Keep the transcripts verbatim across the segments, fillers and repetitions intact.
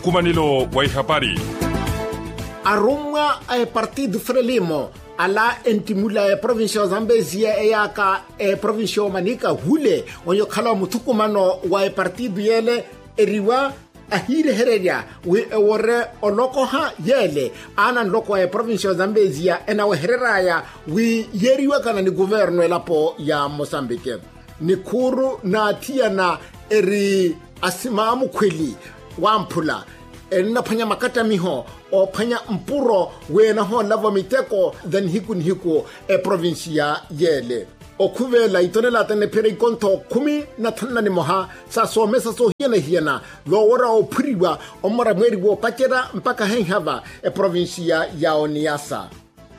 Khumanelo wa ihapari. Arummwa a epartido frelimo ala enttimula eprovincia ya ozambeziya eyaaka eprovincia ya omanika hule onyo okhala omuthukumano wa epartido yeele eriwa ahiirehererya wi ewore olokoha yeele aana nloko wa eprovincia ya ozambeziya enawehereraya wi yeeriwakana ni kuvernu elapo ya mosambike. Nikhuuru naathiyana eri asimaamukhweli wamphula ennaphwanya makattamiho oophwanya mpuro wi enahoolavo miteko tha nihiku nihiku eprovincia yeele. Okhuveela itonelata enepherya ikontho khumi na thanu na nimoha sa soomesa soohiyana-hiyana voowerya oophuriwa omora mweeri woopacerya mpakha henhava eprovincia ya oniyasa.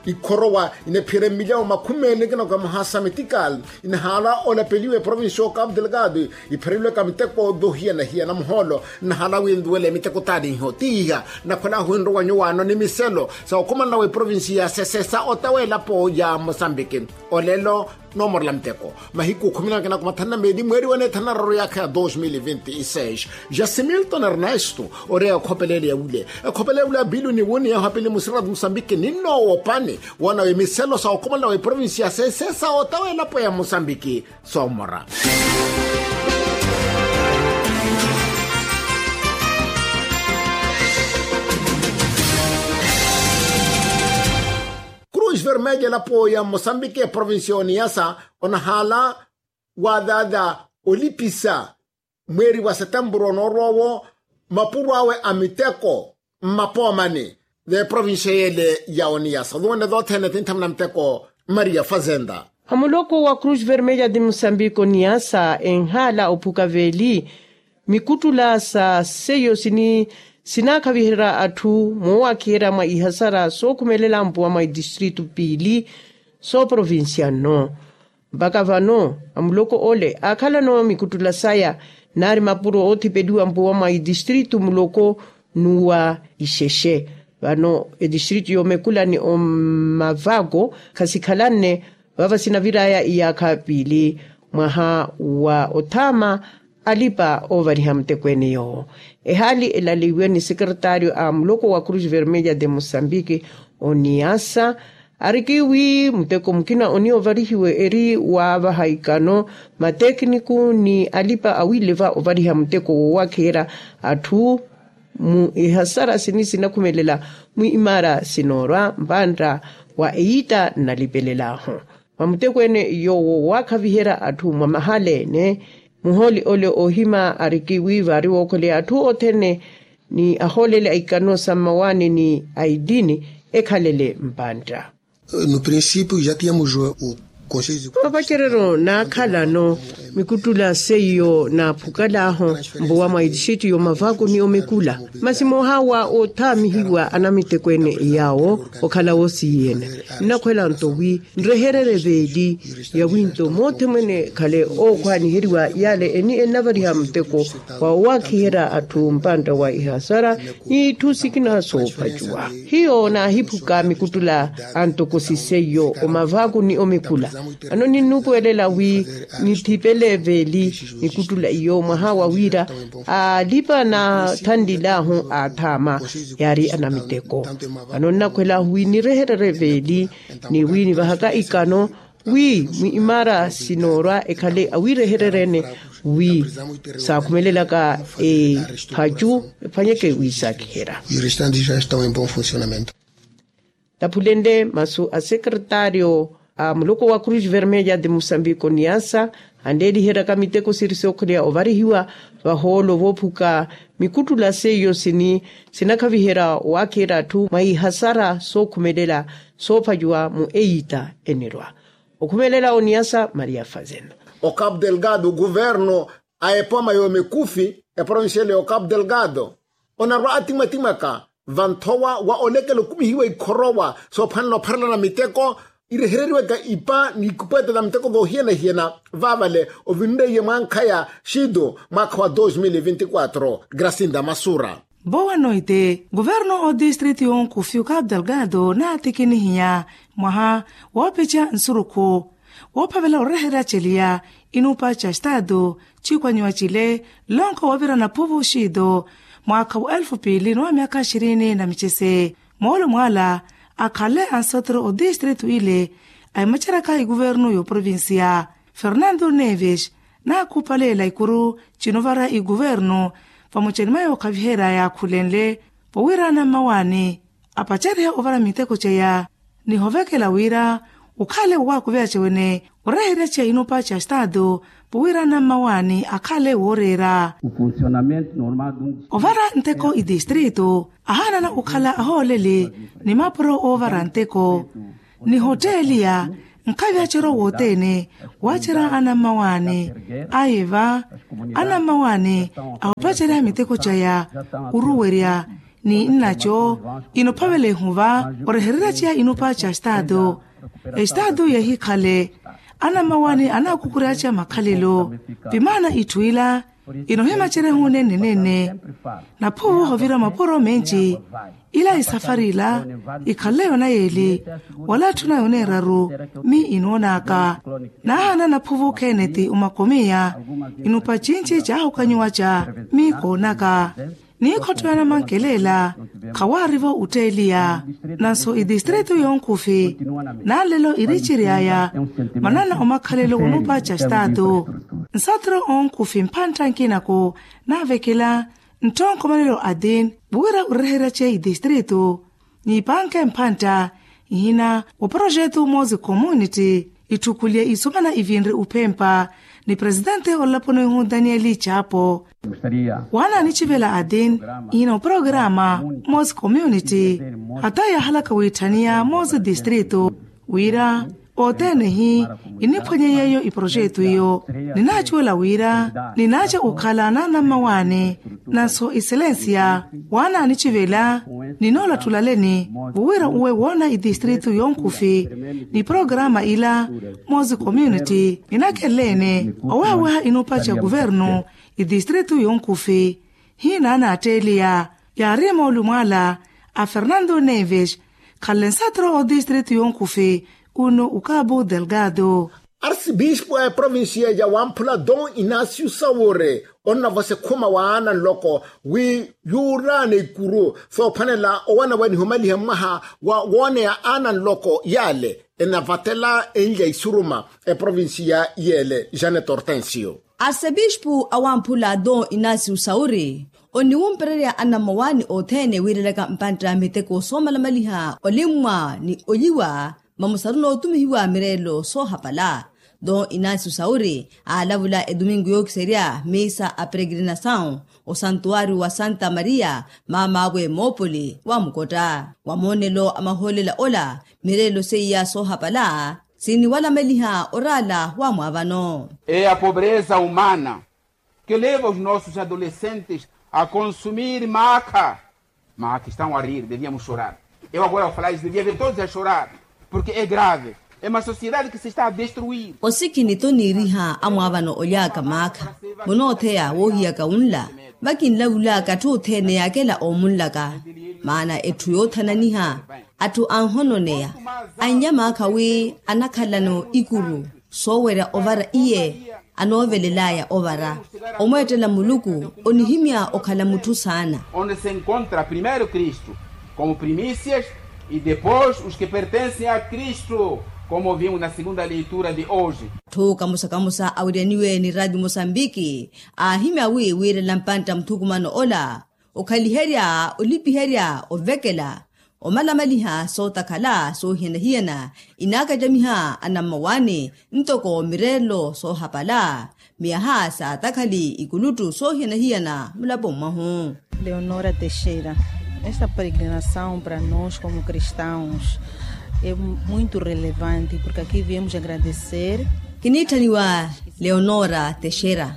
Ikhorowa inepherya mmilyawo makhumi meeli ekina okamoha sa metikal inahaala olapeliwa eprovincia ya okapu delgado. Ipherelwaka miteko voohiyana-hiyana muhoolo nnahaala wi enduwele miteko taaniho tiiha. Nnakhwela ahu enrowa nyuwaano ni miselo sa okhumanela wa eprovincia ya sesesa otawa elapo ya mosambiki. Olelo noomorela miteko mahiku khumi na kinako mathanu na meeli mweeri wa neethanu na raru yaakha ya dos mil vinti seis. Jasimilton ernesto oreya ekhopelele ya wule ekhopelele ya wule ya pili oniwuni yahu apili musiratu musambiki ninnoowopani woona wi miselo sa okhumanela wa eprovincia ya sesesa otawa elapo ya musambiki soomora. Cruz vermelha elapo ya mosambiki eprovincia ya oniyasa onahaala waadhaadha olipisa mweeri wa setempuru onoorwa owo mapuro awe a miteko mmapoomani v'eprovincia yeele ya oniyasa oduwene dothene tinthamuna miteko. Maria fazenda. A muloko wa cruz vermelha de mosambiko oniyasa enhaala ophuka veeli mikuttula sa seiyo sini sinaakhaviherya atthu moowakhiyerya mwa ihasara sookhumelela mpuwa mwa itistritu piili sooprovincia nno. Mpakha vano amuloko ole aakhalano mikuttula saya naari mapuro oothipeliwa mpuwa mwa itistritu muloko n'uwa ixexe. Vano etistritu y'omekula ni omavako khasikhalanne vava sinaviraya iyaakha piili mwaha wa othaama alipa oovariha mutekweene yoowo. Ehaali elaleiwe ni sekeretario a muloko wa cruz vermelha de mosambiki oniyasa ariki wi muteko mukina oniya ovarihiwe eri waavaha ikano matekiniku ni alipa awileva ovariha muteko woowakhiyerya atthu mu ihasara sini sinakhumelela mwiimaara sinoorwa mpantta wa eyitta nnalipelelaahu. Mwa mutekweene yoowo waakhaviherya atthu mwa mahala ene muhooli ole oohima ariki wi vaari wookholeya atthu othene ni ahooleli a ikano sa mmawaani ni a itini ekhalele mpantta. No princípio já tínhamos o conselho de papacerero naakhalano mikuttula seiyo naaphukalaaho mpuwa mwa itixitu y'omavako ni omekula masi moohawa oothaamihiwa anamitekweene yaawo okhala woosiyene. Nnakhwela nto wi nrehererye veeli ya winto moothe mwene khale ookhwaaniheriwa yale eni ennavariha muteko wa owaakiherya atthu mpantta wa ihasara ni itthu sikina soopacuwa. Hiyo naahiphuka mikuttula a ntokosi seiyo omavako ni omekula ano ninnuupuwelela wi nithipele veeli mikuttula iyo mwaha wa wira alipa naathanlilaahu aathaama yaari anamiteko. Vano nnakhwelaahu wi nirehererye veeli ni wi nivahaka ikano wi mwiimaara sinoorwa ekhale awiirehereryene wi saakhumelelaka ephacu ephwanyeke wi saakiherya. Taphulenle masu a sekretario a muloko wa cruz vermelha de mosambiko niasa anleeliheryaka miteko siri sookheleya ovarihiwa vahoolo voophuka mikuttula seiyo sini sinakhaviherya owaakiherya atthu mwa ihasara sookhumelela soophacuwa mu eyitta enirwa okhumelela oniyasa maria fazenda. Ocapu delgado guverno a epoma yoomikufi eprovincial y'ocapu delgado onarwa atimwatimwaka vanthowa wa olekela okumihiwa ikhorowa soophwanela opharelana miteko irehereriwaka ipa ni ikupwete na miteko voohiyana-hiyana vaavale ovinreiye mwankhaya xido mwaakha wa dos mil vinti quatro. Gracinda masura. Boa noite. Guverno o distrito y'onkufi ocapu delgado naatikinihiya mwaha woopeca nsurukhu woophavela oreherya celiya inuupa ca staatu ciikwanyiwa cile nlonko woovira naphuvu xiito mwaakha wa elfu piili ni wa myaakha xirini na micese. Moolumo ala akhale ansotro otistritu ile aimaceraka ikuvernu y'oprovincia fernando neves naakhupaleela ikuru cinovara ikuvernu vamucani mwa yookhaviherya yaakhulenle vowira anammawaani apacarihe ovara miteko ceya ni hovekela wira okhale owaakuveya cewene oreherya ceya inupa ca staatu vowira anammawaani akhale wooreera. Ovara nteko itistritu ahaanana okhala ahooleli ni mapuro oovara nteko ni hotteliya nkhavi aceryo wothene waacerya anammawaani. Ayiva anammawaani ahopacerya miteko caya oruwerya ni nnaco inophavela ehuva orehererya ceya inupa ca staatu. Estaatu yehikhale anammawaani anaakukurya ceya makhalelo. Vimaana itthu ila inohimacerya ehunene nene naphuvu hovira mapuro menci ila esafari ila ikhalle yona yeeli wala atthuna yona eraru. Mi inoonaka naahana naphuvu kheneti omakomiya inupa cinci caahukanyiwa ca mi koonaka niikhotto ya namankelela khawaarivo otteeliya. Nanso itistritu yonkhufi nanlelo iricery'aya manana omakhalelo onupa ca staatu nsatro onkhufi mphantta nkinako naavekela ntthonkomanelo atin wira oreherya ceya itistritu niipanke mphantta ihina wa projetu moosi community itthukulye isomana ivinre uphempa ni presitente olaponi ihu danieli chapo. Waana anicivela atin ihina wa programa moosi community hata yaahalaka wiitthaniya moosi tistritu wira othene hi iniphwanye yeeyo iprojetu iyo. Ninaacuwela wira ninaaca okhala naanammawaani nanso excellencia waana anicivela ninoolatthulaleni vowira uwe woona itistritu yonkhufi ni programa ila moosi community ninakhelleene owaaweha inupa ca kuvernu itistritu yonkhufi. Hina anatteeliya yaari moolumo ala a fernando neves khalle nsatro otistritu yonkhufi unu ukabu delgado. Arsibispu a eprovincia ya wamphula don inacio saure onnavosa ekhuma wa aana nloko wi yuuraana ikuru soophwanela owana wa nihumalihe mmaha wa wooneya aana nloko yaale enavatela enlya isuruma eprovincia yeele janet hortensio. Arsepispu a wamphula don inacio sauri oniwumpererya anammawaani othene wiirelaka mpantta miteko soomalamaliha olimmwa ni olyiwa mamusaruna otumihiwa mireelo soohapala. Don inacio sauri aalavula etumingu yookiserya misa a peregrinasawu osantuwari wa santa maria maamaawe moopoli wa mukotta wa moonelo a mahoolela ola mireelo seiya soohapala siniwalameliha oraala wa mwaavano. E a pobreza humana que leva os nossos adolescentes a consumir maakha maakha estão a rir deviamos chorar. Eu agora ao falar isso devia ver todos a chorar porque é grave. É uma sociedade que se está a destruir. Osikini toniiriha amwaavano olyaaka maakha munootheya woohiyaka wunla vakinlavulaka atthu othene yaakela oomunlaka maana etthu yoothananiha atthu anhononeya annya maakha wi anakhalano ikuru soowerya ovara iye anoovelelaya ovara omweettela muluku onihimya okhala mutthu saana. Onde se encontra primeiro kristu como primícias e depois os que pertencem a kristu como vimos na segunda leitura de hoje. Atthu kamusa-kamusa awiryaniwe ni radio mosambiki aahimya wi wiirela mpantta muthukumano ola okhaliherya olipiherya ovekela omalamaliha sootakhala soohiyana-hiyana inaakacamiha anammawaani ntoko mireelo soohapala miyaha saatakhali ikuluttu soohiyana-hiyana mulapo mwahu. Leonora texeira esta peregrinasawu para nos como cristãos é muito relevante porque aqui viemos agradecer. Kiniitthaniwa leonora texeira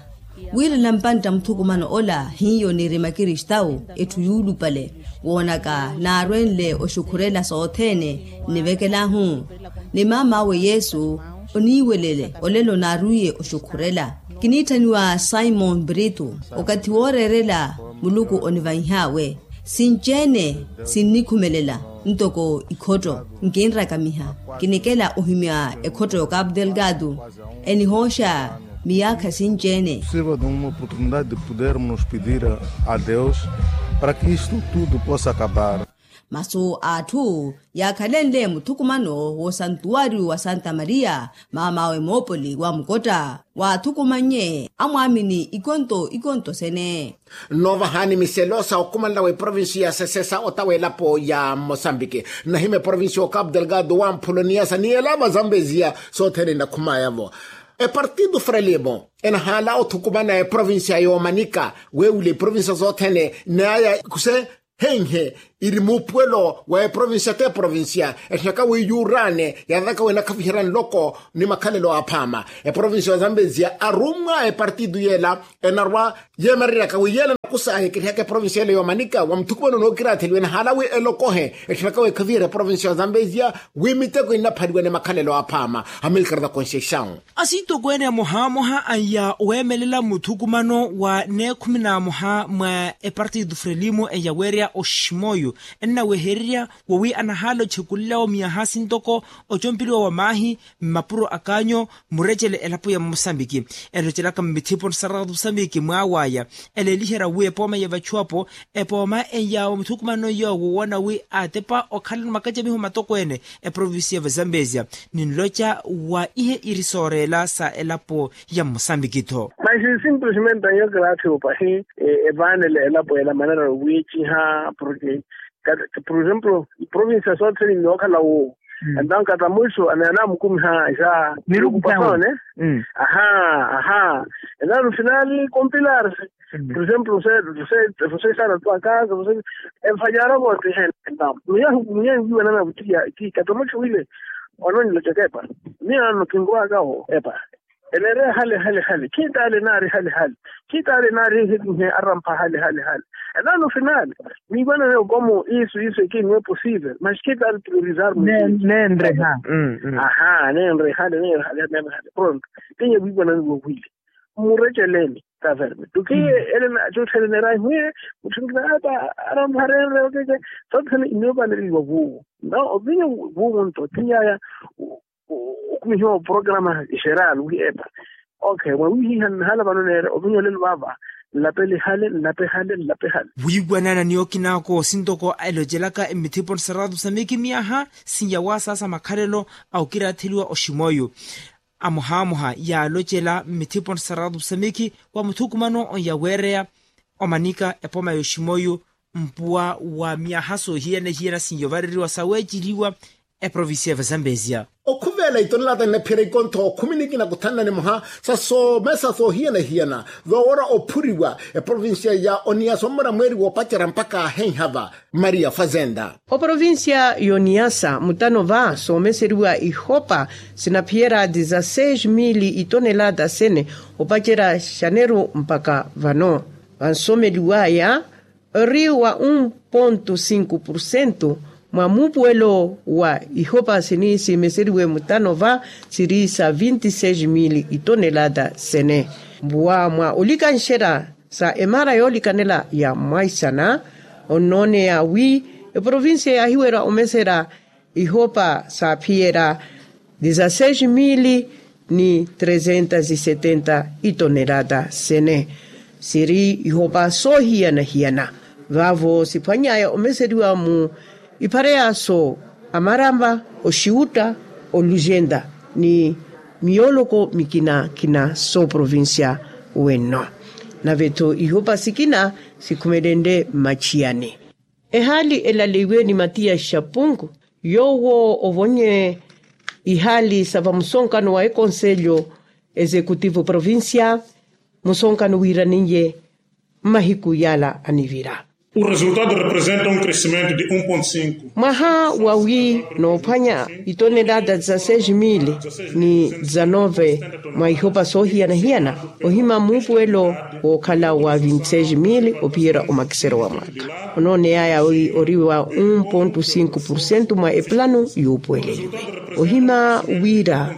wiirela mpantta muthukumano ola hiyo niirima kristawu etthu yuulupale woonaka naarwenle oxukhurela sothene nnivekelahu ni maam'awe yesu oniiwelele olelo naarwiye oxukhurela. Kiniitthaniwa simon brito okathi wooreerela muluku onivanh'awe sinci-ene sinnikhumelela ntoko ikhotto nkinrakamiha kinikela ohimya ekhotto y'okapu delgado enihooxa miyaakha sinci-ene. Sirva de uma oportunidade de pudermos nos pedir a deus para que isto tudo possa acabar. Masu a atthu yaakhalenle muthukumano w'osantuwariyo wa santa maria maam'awe moopoli wa mukotta waathukumannye amwaamini ikonto ikonto sene. Nnoovahani miselo sa okhumanela wa eprovincia ya sesesa otawa elapo ya mosambiki, nnahima eprovincia ya okapu delgado wa mphuloniyasa ni elapo ya zambeziya sothene nnakhumaya-vo. Epartido frelimo enahaala othukumana eprovincia ya omanika weewula eprovincia sothene naya kuse henhe iri muupuwelo wa eprovincia t'eprovincia etthaka wi yuuraane yathaka wi enakhaviherya nloko ni makhalelo aaphaama. Eprovincia ya zambeziya arummwa epartido yeela enarwa yeemereryaka wi yeela nakusahi ekirihaka eprovincia yeela ya omanika wa muthukumano nookiraatheliwa enahaala wi elokohe etthaka wi ekhaviherya eprovincia ya zambeziya wi miteko innaphaliwa ni makhalelo aaphaama. Amilcar da conceição. Asintokweene amohamoha anya oweemelela muthukumano wa neekhumi n'amoha mwa epartido frelimo eyaweerya oximoyo ennawehererya wowi anahaala ochekulelawo miyaha sintoko ocompeliwa wa maahi mmapuro a kaanyo murecele elapo ya mosambiki elocelaka mmithipo nsaratu mosambiki mwaawaya eleeliherya wi epooma ya vachuwapo epooma eya wa muthukumano yoowo woona wi aatepa okhalano makacamiho matokweene eprovincia ya vazambezia ninloca wa ihe iri sooreela sa elapo ya mosambiki-tho. Maxi simplesmente anyookela atthu opahi evaanele elapo ela manera owiiciha porke por exemplo provincia sothene nnookhala woowo. Entawo kata mwiso anamukumiha ja nirukupasaone. Aha. Aha. Entawo no final compilarse por exemplo sesana tu akasa. Enfanyara vote hene entawo muyahu muyahu wiwanana vutiya ki kata mwiso wile. Ononilo cakepa miya nokinguwaka wo epa. Eneereya hale hale hale khitaale naari hale hale khitaale naari hale hale. Arampha hale hale hale. Entawo no final miiwanane okomo isu isu ekinwe posivel mas khitaale priorizar neenreha. Aha neenreha hale neenreha hale pronto. Tinye wiiwanane wowile mmureceleni taverme tukiye ele na cotthele neerahi mwiye mutthingina ata arampha reenre okeke. Sotthene inoopaneriwa vuuwo na ovinyo vuuwo nto tinyaya okumihiwa oprograma geral wi epa. Okay mwawihiha nnahala vano neere ovinya olelo vaava nlapele hale nlape hale nlape hale. Wiiwanana ni okinaako sintoko elocelaka mmithipo nsaratu samiki miyaha sinyawasaasa makhalelo a okiraatheliwa oximoyo amohamoha yaalocela mmithipo nsaratu samiki wa muthukumano yaweereya omanika epooma yoximoyo mpuwa wa myaha soohiyana-hiyana sinyovareriwa saweeceliwa eprovincia ya vazambezia. Okhuveela itonelata nnaphiyerya ikontho khumi nikina kuthanna nimoha sa soomesa soohiyana-hiyana. Vawora ophuriwa eprovincia ya oniyasa ommora mweeri woopacerya mpakha ahenhava maria fazenda. Oprovincia ya oniyasa mutano va soomeseriwa ihopa sinaphiyerya dizaseix mili itonelata sene opacerya xaneru mpakha vano vansomeliwaya ori wa un ponto sinku porcento mwa muupuwelo wa ihopa sini siimeseriwe mutano va siri sa vinti seis mili itonelata sene. Mbuwa mwa olikanxerya sa emara yoolikanela ya mwaisana onnooneya wi eprovincia yaahiwerya omeserya ihopa saaphiyerya dizaseix mili ni trezentas e setenta itonelata sene siri ihopa soohiyana-hiyana. Vaavo siphwany'aya omeseriwa mu iphareyaso amaramba oxiwutta olujenta ni miyooloko mikina-kina sooprovincia wenno. Nave-tho ihopa sikina sikhumelenle mmachiyani. Ehaali elaleiwe ni matiya xapunku yoowo ovonye ihaali sa vamusonkano wa ekonselyo exekutivo provincia musonkano wiiraninye mmahiku yaala anivira. O resultado representa um crescimento de um ponto cinco. Mwaha wawi noophwanya itonelata dizaseix mili ni dizanove mwa ihopa soohiyana-hiyana ohima muupuwelo wookhala wa vinti seis mili ophiyerya omakiseryo wa mwaakha onooneyaya wi ori wa un ponto cinco porcento mwa epulano yuupuweleliwe ohima wira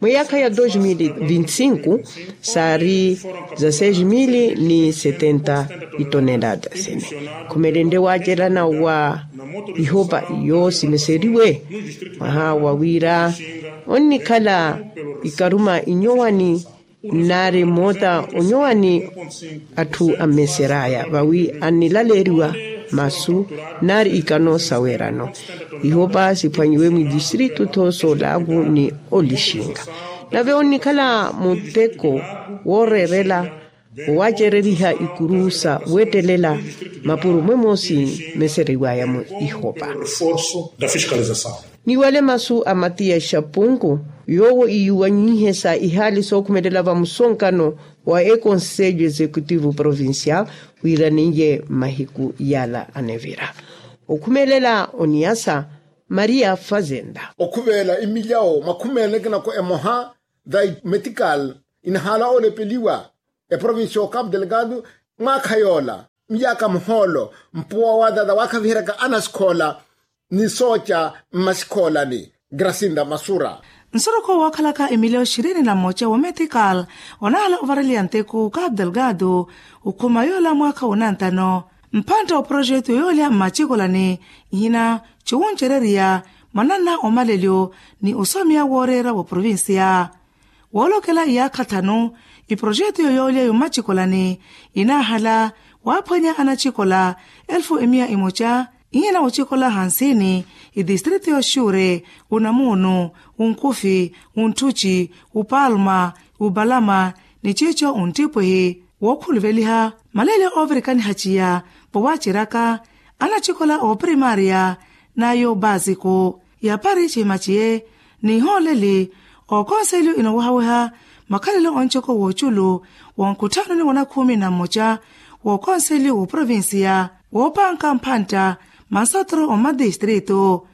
mwa eyaakha ya dos mil vinti cinco saari za seis mil ni setenta itonelata sene khumelenle waacelana wa ihopa yoosimeseriwe mwaha wa wira onnikhala ikaruma inyowani Nnaari moota onyowani atthu ammeser'aya vawi annilaleeriwa masu nnaari ikano saweerano. Ihopa siphwanyiwe mwidistritu tho soolavu ni olixinga. Nave onnikhala muteko wooreerela owacereriha ikuru sa weettelela mapuro mwemosi meseriwaya mu ihopa. Niwale masu a matiya xapunku yoowo iyuwanyihe sa ihaali sookhumelela vamusonkano wa ekonselho executivo provincial wira niye mahiku yala anevira okhumelela oniyasa maria fazenda. Okhuveela imilyawo makhumi ene kinako emoha tha metikal inahaala olepeliwa eprovinsi ya okapu delegado mwaakha yoola miyaka muhoolo mpuwa wa tata waakhaviheryaka anasikhoola ni sooca mmasikhoolani grasinda masura. Nsorokho wookhalaka emilyawo xirini na mmoca wa metikal onahala ovareliya nteku okapu delegado okhuma yoola mwaakha wa onantano mphantta wa projeto yoolya mmacikolani ihina ciwuncereriya mwananna omalelyo ni osomiya wooreera wa provinsiya. Woolokela iyaakha thanu iprojeto yoyoolya yomacikolani inaahala waaphwanya anacikola elfu emiya imoca ihina ocikola hansini idistritu yoxuure unamuunu unkufi unttuci upalma upalama ni ciico unttipwihi wookhuluveliha maleelyo oovirikaniha ciya vowaaceryaka anacikola oopirimaariya n'ayo baasiku yapari cihima ciye n'ihooleli ookonselyo inoowahaweha makhalelo oncoko wooculu wonkutthanoni wa nakhuumi na mmoca wookonselyo wooprovinsiya woopanka mphantta mansotro ommadistritu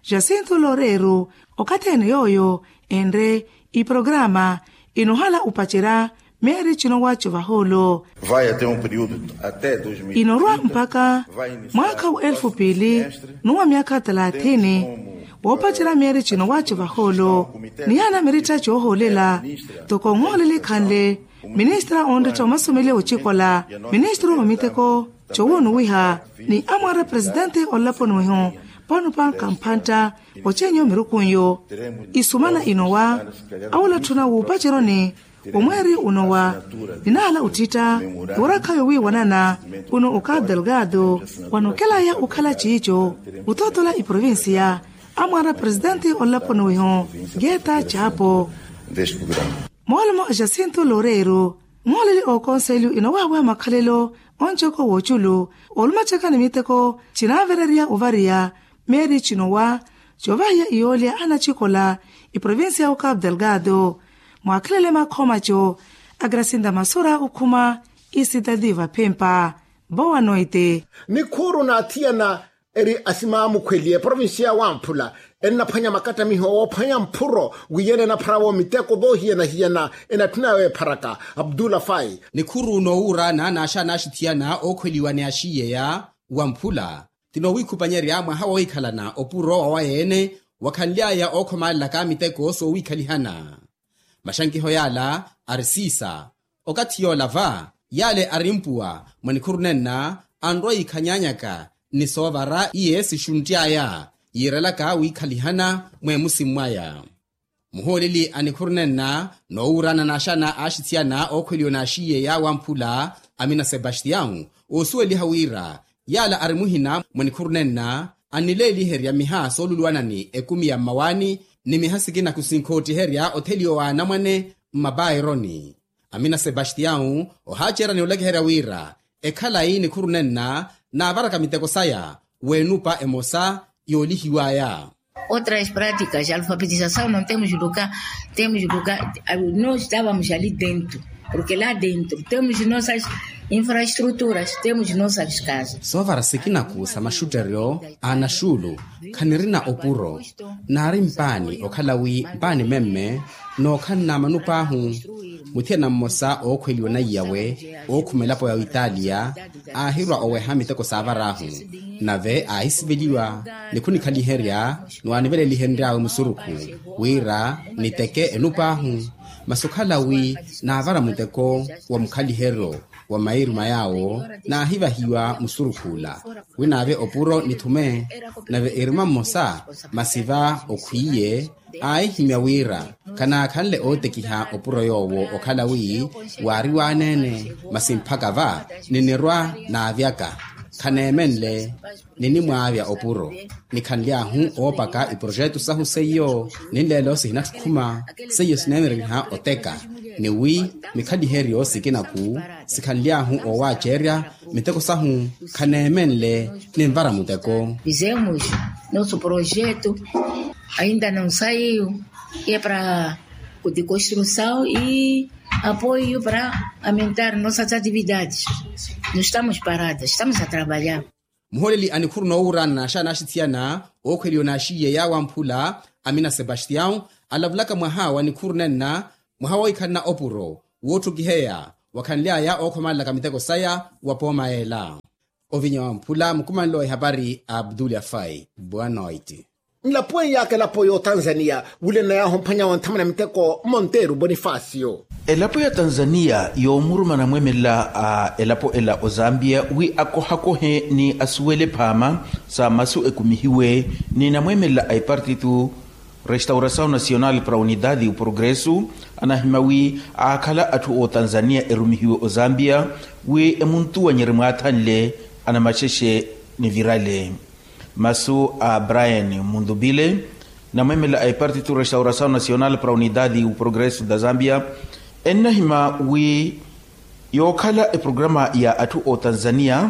jacinto loreiro okathi ene yooyo enre iprograma inoohala opacerya meeri cinowa covahoolo inorwa mpakha mwaakha wa elfu piili n'uwa myaakha talathini woopacerya meeri cinowa covahoolo nihana miritta coohoolela toko onhooleli khanle ministra onretta omasomeliya ocikola ministra omiteko cowonuwiha ni amwaara presidente olaponiweho panupanka mphantta ocenyo mirukunyo isumana inowa awolatthuna wuupaceroni omweeri unowa ninaala uttitta worakhayo wiiwanana uno okapu delgado wanokelaya okhala ciico otootola iprovinsiya amwaara presidente olaponiweho geta capo moolomo a jacinto loreiro mooleli ookonselyo inowahaweha makhalelo oncoko wooculu olumacaka ni miteko cinaavererya ovariya meeri cinowa covahiya iyoolya anacikola iprovinsiya ya okapu delgado mwaakhelele makhomaco a grasinda masura okhuma isitati vaphempa boa noite nikhuuru naathiyana eri asimaamukhweliye provinsiya ya wamphula ennaphwanya makattamiho woophwanya mphuro wiyene enapharawo miteko voohiyana-hiyana enatthuna yawe epharaka abdula fai nikhuuru noowuura naanaaxa anaaxithiyana ookhweliwa ni axiyeya wamphula ti noowiikhupanyerya mwaha woohikhalana opuro wawaye-ene wakhanly'aya ookhomalelaka miteko soowiikhalihana maxankiho yaala ari siisa okathi yoola va yaale ari mpuwa mwa nikhuru nenna anrwa yiikhanyanyaka ni soovara iye sixunty'aya yiirelaka wiikhalihana mweemusi mwaya muhooleli a nikhuru nenna noowuurana naaxana aaxithiyana ookhweliwa naaxiyeya wamphula amina sebastião oosuweliha wira yaala ari muhina mwa nikhuru nenna annileeliherya miha sooluluwanani ekumi ya mmawaani ni miha sikina kusinkoottiherya otheliwa wa anamwane mmapaironi amina sebastião ohaacerani olekeherya wira ekhalayi nikhuru nenna naavaraka miteko saya w'enupa emosa yoolihiw'aya otras práticas de alfabetizasaw no temos lugar temos lugar no estávamos ali dentro porque lá dentro temos nossas infraestruturas temos nossas casas soovara sikinaku sa maxutteryo a anaxuulu khanirina opuro naari mpaani okhala wi mpaani memme nookhanna manup'ahu muthiyana mmosa ookhweliwa onaiyawe ookhuma elapo ya oitalia aahirwa oweha miteko saavar'ahu nave aahisiveliwa ni khunikhaliherya niwaanivelelihenry'awe musurukhu wira niteke enup'ahu masi okhala wi naavara muteko wa mukhaliheryo wa mairuma yaawo naahivahiwa musurukhuula wi naave opuro nithume. Nave iruma mmosa masi va okhwiiye aahihimya wira khanaakhanle ootekiha opuro yoowo okhala wi waari waaneene masi mphaka va ninirwa naavyaka khaneemenle ninimwaavya opuro. Nikhanly'ahu oopaka iprojetu sahu seiyo ninleelo sihinattukhuma seiyo sineemereriha oteka ni wi mikhaliheryo sikina-khu sikhanly'ahu oowaacerya miteko sahu khaneemenle ninvara muteko. Fizemos nosso projeto ainda não saiu, e para de construção e apoio para aumentar nossas atividades. Não estamos paradas, estamos a trabalhar. Muholeli a nikhuru noowuurana naaxaana axithiyana ookhweliwa naaxiiye yaawamphula amina sebastião alavulaka mwaha wa nikhuru nenna mwaha woohikhalana opuro wootthukiheya wakhanly'aya ookhomalelaka miteko saya wa pooma yeela. Ovinya wamphula mukumanle wa ihapari a abdul afai boa noite. Nlapuweiyaaka elapo y'otanzaniya wulena yaahu mphwanya wa nthamana miteko monteru bonifasio. Elapo ya tanzaniya yoomuruma anamweemelela a elapo ela ozambiya wi akohakohe ni asuwele phaama sa masu ekumihiwe ni namweemelela a epartitu restaurasaw nasional para unidadi u progresu anahima wi aakhala atthu ootanzaniya erumihiwe ozambiya wi emuntuwanyerye mwaathanle anamaxexe nivirale. Masu a brian munthupile namweemela a epartitu restaurasaw nasional para unidadi u progresu da zambia ennahima wi yookhala eprograma ya atthu ootanzaniya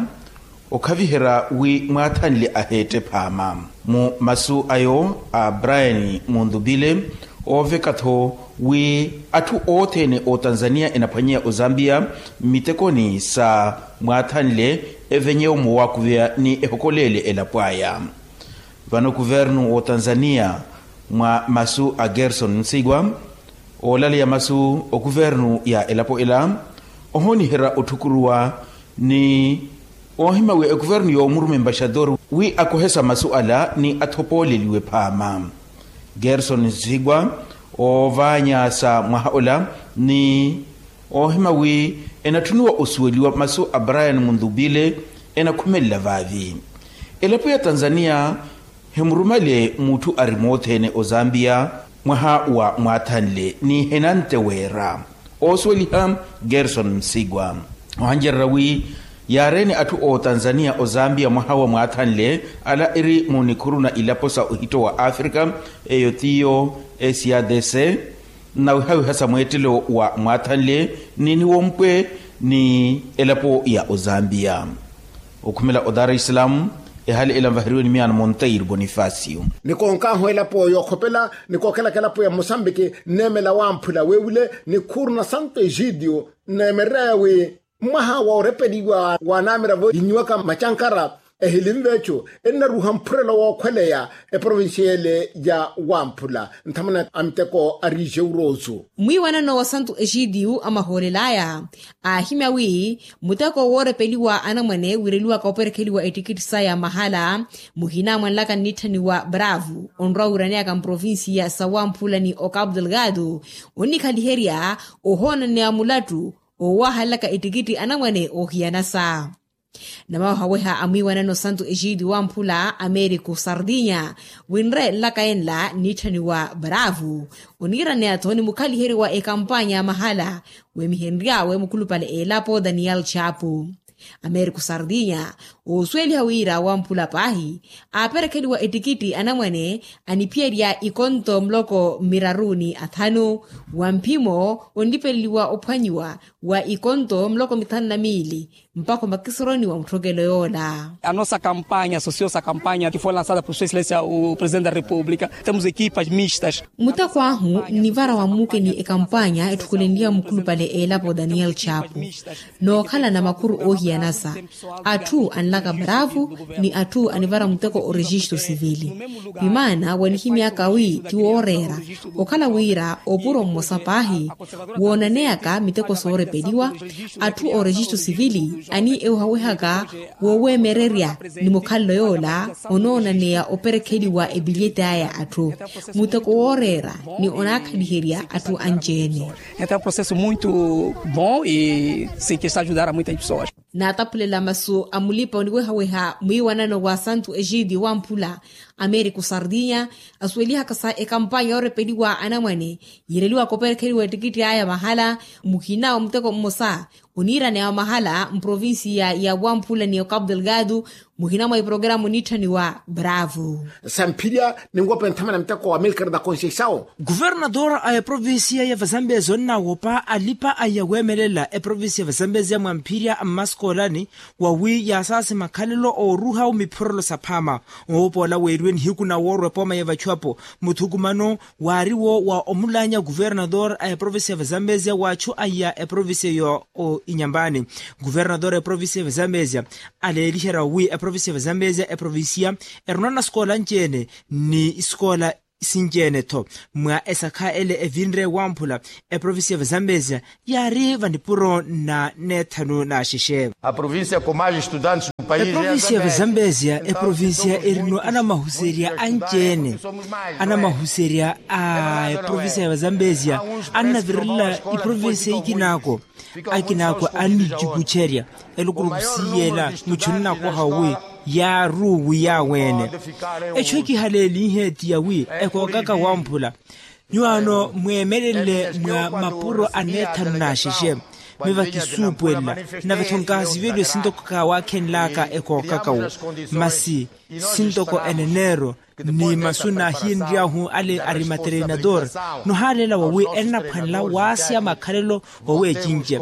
okhaviherya wi mwaathanle aheette phaama. Mu masu ayo a brian munthupile ooveka-tho wi atthu othene ootanzaniya enaphwanyeya ozambiya mmitekoni sa mwaathanle evenyewo moowakuveya ni ehokoleele elapo aya. Vano kuvernu w'otanzaniya mwa masu a gerson nsigwa oolaleya masu okuvernu ya elapo ela ohooniherya otthukuruwa ni oohima wi ekuvernu yoomurume embaxador wi akohesa masu ala ni athopooleliwe phaama. Gerson nsigwa oovaanya sa mwaha ola ni oohima wi enatthuniwa osuweliwa masu a brian munthupile enakhumelela vaavi. Elapo ya tanzaniya hemurumale mutthu ari moothene ozambiya mwaha wa mwaathanle ni henante weera. Oosuweliha gerson nsigwa ohancererya wi yaareene atthu ootanzaniya ozambiya mwaha wa mwaathanle ala eri mu nikhuru na ilapo sa ohitto wa afrika eyo tiyo sadc nnawihawiha sa mweettelo wa mwaathanle ni niwompwe ni elapo ya ozambiya. Okhumela o dar es salaam ehali ela nvaheriwe ni miyaano monteiro bonifacio. Nikoonkaahu elapo yookhopela nikookhelaka elapo ya mosambiki nneemela wamphula weewile nikhuru na santo egidio nneemererya wi mwaha woorepeliwa waanaamira vo yinyiwaka macankara ehilinve eco ennaruha mphurelo wookhweleya eprovinciele ya wamphula nthamana a miteko a riixe urosu. Mwiiwanano wa santu exidiyu amahoolel'aya aahimya wi muteko woorepeliwa anamwane wireliwaka operekheliwa ettikitti saya mahala muhina mwanlaka nnitthaniwa bravo onrwa wiraneyaka mprovincia sa wamphula ni ocapo delgado onnikhaliherya ohoonaneya mulattu oowahalelaka ettikitti anamwane oohiyanasa. Namawehaweha a mwiiwanano santu exidiyu wamphula americo sardinya winre nlaka enla nnitthaniwa bravo oniiraneya-tho ni mukhaliheri wa ekampanya ya mahala weemihenry'awe mukhulupale elapo daniel chapo. Americo sardinya oosuweliha wira wamphula paahi aaperekheliwa ettikitti anamwane aniphiyerya ikonto muloko miraru ni athanu wa mphimo onlipeleliwa ophwanyiwa wa ikonto muloko mithanu na miili mpakha omakisoroni wa mutthokelo yoola. A nossa campanha associo-se à campanha que foi lançada por sua excelência o presidente da república. Temos equipas mistas. Muteko ahu nnivara wa mmuke ni ekampanya etthukulenliwa mukhulupale elapo daniel chapo nookhala na makhuru oohiyanasa atthu anlaka bravo ni atthu anivara muteko orexisto sivili. Vimaana wanihimyaka wi ti wooreera okhala wira opuro mmosa paahi woonaneyaka miteko soorepeliwa atthu orexisto sivili Ani ewehawehaka wooweemererya ni mukhalelo yoola onoonaneya operekheliwa epilyeti aya atthu, muteko wooreera ni onaakhaliherya atthu anci-ene. Entaw processo muito bom e sei que está ajudar a muitas pessoas. Naataphulela masu a mulipa oniwehaweha mwiiwanano wa santu ejidi wamphula americo sardinya, asuwelihaka sa ekampanya yoorepeliwa anamwane yiireliwaka operekheliwa ettikitti aya mahala. Muhina wa muteko mmosa oniiraneya wa mahala mprovincia ya wamphula ni ocapo delgado. Muhina mwa iprograma onitthaniwa bravo. Samphirya ninwope nthamana muteko wa milker da conceição. Kuvernator a eprovincia ya vazambezia onnawopa alipa aya weemelela eprovincia ya vazambezia mwamphirya mmaskoolani wawi yaasaasi makhalelo ooruha omiphorolo saphaama. Oopoola weeriwe nihiku na woorwa epooma ya vachuapo muthukumano waariwo wa omulaanya kuvernator a eprovincia ya vazambezia wa achu aya eprovincia yo inyambani. Kuvernator a eprovincia ya vazambezia aleeliherya wi eprovincia ya vazambezia eprovincia erunana sikoola nci-ene ni sikoola sinci-ene-tho mwa esakha ele evinre wamphula. Eprovincia ya vazambezia yaari vanipuro na neethanu na axexe. Eprovincia ya vazambezia eprovincia erino anamahuserya anci-ene anamahuserya a eprovincia ya vazambezia annavirela iprovincia ikinaako. Akinaako annicukucerya elukuruku siiyela muchu nnakoha wi yaaruwi yaaweene. Echu ekihaleelihe ti yawi ekookaka wamphula nyuwaano mweemelele mwa mapuro aneethanu n'axexe. Miva kisuupuwelela nave-tho nkaasiveliwe sintoko kaawakhenlaka ekookaka wo masi sintoko eneneero ni masu naahiyenry'ahu ale ari materinador. Nohaaleela wawi ennaphwanela waasya makhalelo wawi ecince.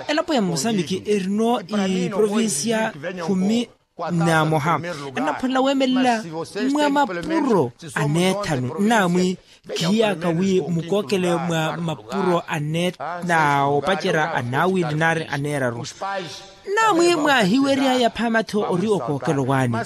Elapo ya musambiki erino iprovincia khumi na moha ennaphwanela weemelela mwa mapuro aneethanu nnaamwi khiyaka wi mukookele mwa mapuro aneethanu na opacerya anaawili nari aneeraru. Nnaamwi mwaahiwery'aya phaama-tho ori okookelo waani.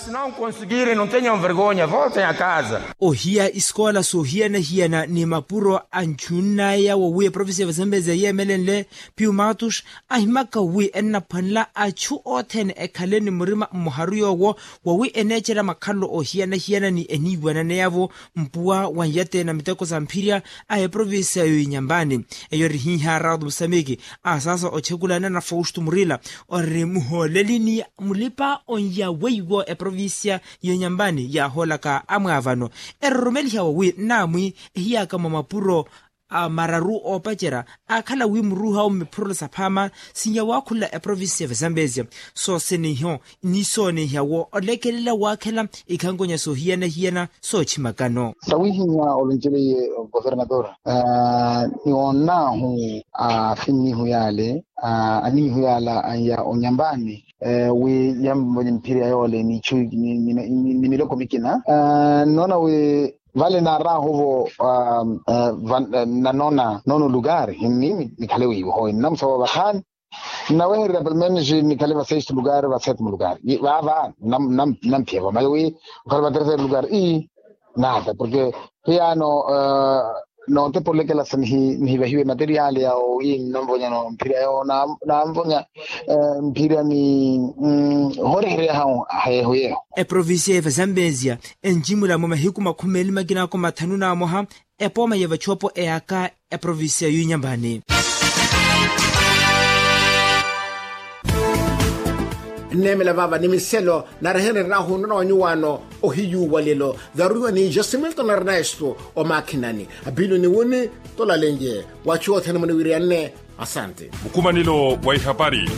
Ohiya isikoola soohiyana-hiyana ni mapuro anchunn'aya wawi eprovincia ya vazambezia yeemelenle piumatus ahimaka wi ennaphwanela achu othene ekhale ni murima mmoharu yoowo wawi eneecerya makhalelo oohiyana-hiyana ni eniiwananeya-vo mpuwa wa nyate na miteko sa mphirya a eprovincia yo inyambani. Eyo eri hiiha raudo musamiki a saasa ochekulana na fausto murila ori muhooleli ni mulipa onya weiwo eprovincia yo inyambani yaahoolaka amwaavano eroromeliha wawi nnaamwi ehiyaka mwa mapuro a mararu oopacerya aakhala wi muruuha owo mmiphurula saphaama sinya waakhula eprovincia ya vazambezia. Sooseniho ni sooniha wo olekelela waakhela ikhankonya soohiyana-hiyana soochimakano. Sawihinya olonceleye governador ni wonnaahu afinnihu yaale aninihu yaala anya onyambani wi yamvonye mphiri ya yoole ni miloko mikina. Nnoona wi vale naaraahuvo nanoona noona olukari ni mikhale wiivo howe nnamusawa vakhaani nnawehererya pelo menos nikhale vasexto lukari vasete mulukari vaava. Nnamphiyavo mayo wi okhale vaterese lukari ii nada porke hiyaano nootepolekela sa nihivahiwe materiali yawo wi nnamvonyano mphirya yawo naamvonya mphirya ni horehereya hawo hayeho yeho. Eprovincia ya vazambezia enjimula mwa mahiku makhumi eli makinako mathanu na moha epooma ya vachuwapo eyaka eprovincia yunyambani. Nneemela vaava ni miselo narehereryahu nnono wa nyuwaano ohiyuwalelo varuiwa ni josimilton ernesto omaakhinani apilo ni wuni tolalenje. Wachu othene muniwiriyanne. Asante. Mukumanelo wa ihapari.